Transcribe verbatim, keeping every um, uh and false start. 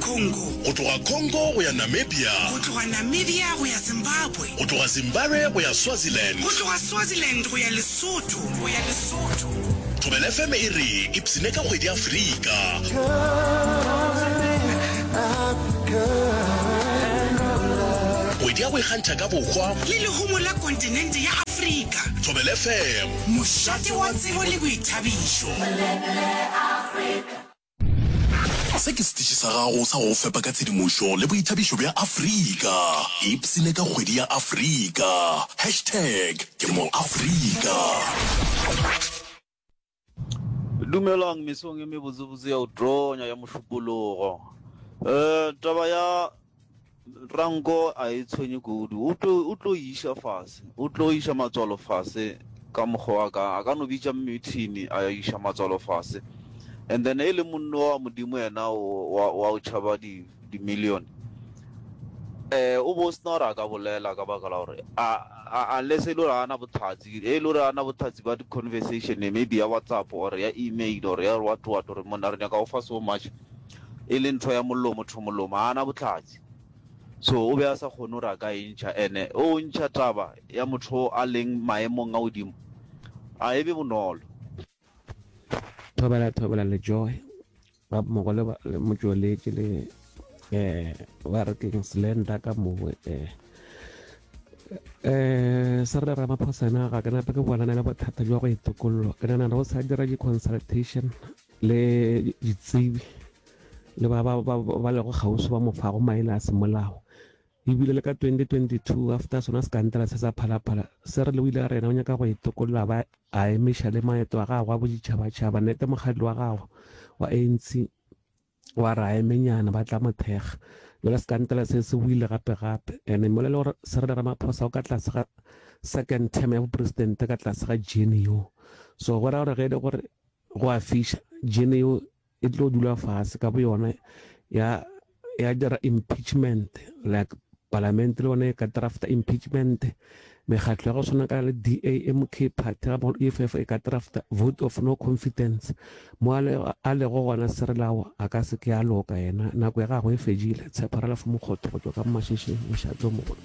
Congo. Go tloga Congo go ya Namibia. Go tloga Namibia go ya Zimbabwe. Go tloga Zimbabwe go ya Swaziland. Go tloga Swaziland go ya Lesotho. Go ya Lesotho. Thobela F M e re ipsene ka kgwedi ya Afrika. Kgwedi ya go ikgantšha ka bohwa le lehumo la kontinente ya Afrika. Thobela F M. Mošate wa tsebo le boithabišo. Se ke setiši sa gago sa go go fepa ka tshedimošo le boithabišo bja Afrika. Ipsene ka kgwedi ya Afrika. Hashtag ke mo Afrika. Dumelang mesong e mebotsebotse ya go tonya ya Mošupologo. Um taba ya Ranko a e tshwenye kudu. O tlo o tlo iša fase, o tlo iša matswalo fase ka mokgwa wa ka. A ka no bitša meeting a iša matswalo fase. And then e le monno wa Modimo yena wa wa o tšhaba di di million. Eh o bo sena gore a ka bolela ka baka la gore a a unless e le gore a na bohlatse, e le gore a na bohlatse ba di conversation maybe ya WhatsApp or ya email or ya what what gore monna re nyaka go fa so much, e le ntho ya mollo motho molomo, a na bohlatse. So o be a sa kgone gore a ka e ntšha, ene o ntšha taba ya motho a leng maemong a godimo a e be bonolo. Thobela, thobela le Joy ba mmogo le ba- le motšweletši le eh ba re keng Slender ka mowe. eh eh Cyril Ramaphosa ena ga ke nape ke bonana le bothata jwa go itokollwa. Ke nagana go sa dira di-consultation le ditsebi le ba ba ba ba lego kgauswi ba mo fago maele a semolao. Ebile le ka twenty twenty-two, after sona sekantela se sa Phalaphala, Cyril o ile a re yena o nyaka go itokolla, ba a emiša le maeto a gagwe a boditšhabatšhaba. Nnete mokgatlo wa gagwe wa A N C wa re a emenyana ba tla mo thekga. Jale sekantela se se buile gape gape, and mola le gore Cyril Ramaphosa o ka tlase ga second term ya bopresidente ka tlase ga G N U, so go ra gore ge e le gore go a fiša, G N U e tlo dula fase ka bo yona ya ya dira impeachment, like palamente le yone e ka drafta impeachment. Mekgatlo ya go tshwana ka le D A, M K party ga mmogo le E F F e ka drafta vote of no confidence. Mo a lego gona Cyril a ka se ke a loka, yena nako ya gagwe e fedile. Tshepo Ralph Mokgotho go tšwa ka Mashishing, mošate o mogolo.